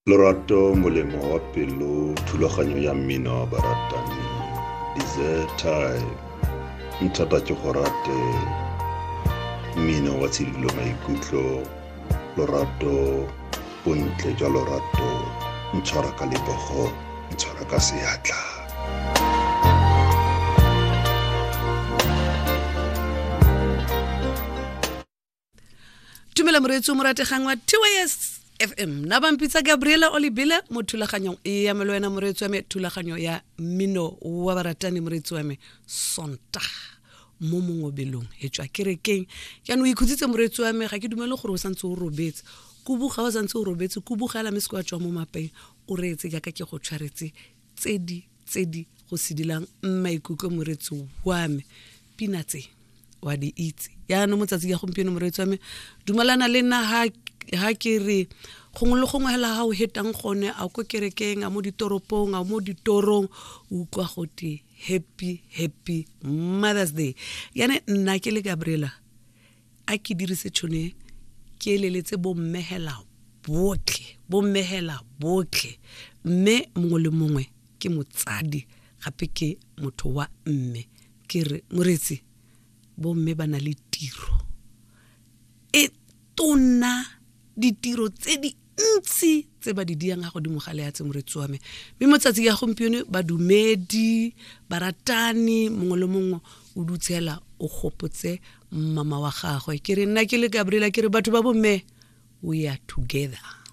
Lorato molemo wa pelo thulaganyo ya mmino wa baratani dessert time nthata ke go rate mmino wa tshidilo maikutlo lorato bontle jwa lorato ntshwara ka lebogo ntshwara ka seatla tumela moreetsi o morategang wa tys fm na bampitsa gabriela olibile mo thulaganyong e ya melo wena moreetsi wa me thulaganyo ya mmino wa baratani moreetsi wa me sontaga mo mongobelong e tswa kerekeng jaanong o ikhutsitse moreetsi wa me ga ke dumele gore o santse o robetse kubuga o santse o robetse kubugela mme se kwa tswa mo mapeng o reetse jaaka ke go tshwaretse tse di tse di go sedilang maikutlo moreetsi wa me pina tse wa di itse yaanong motsatsi ya gompieno moreetsi wa me dumalana le nna ha ke re gongwe le gongwe hela ga o hetang gone a ko kerekeng a mo ditoropong a mo ditorong o utlwa gote happy happy mother's day yane nna ke le gabriela a ke dirise tšhono e ke eleletse bommegela botlhe bommegela botlhe mme mongwe le mongwe ke motsadi gape ke motho wa mme ke re moretsi bomme ba na le tiro e tona ditiro tse di ntsi tse ba di diang ga godimo ga leatse moretsi wa me mme mo tsatsi ya gompieno badumedi baratani mongwe le mongwe o dutshela o gopotse mama wa gagwe ke re nna ke le gabriela ke re batho ba bomme we are together.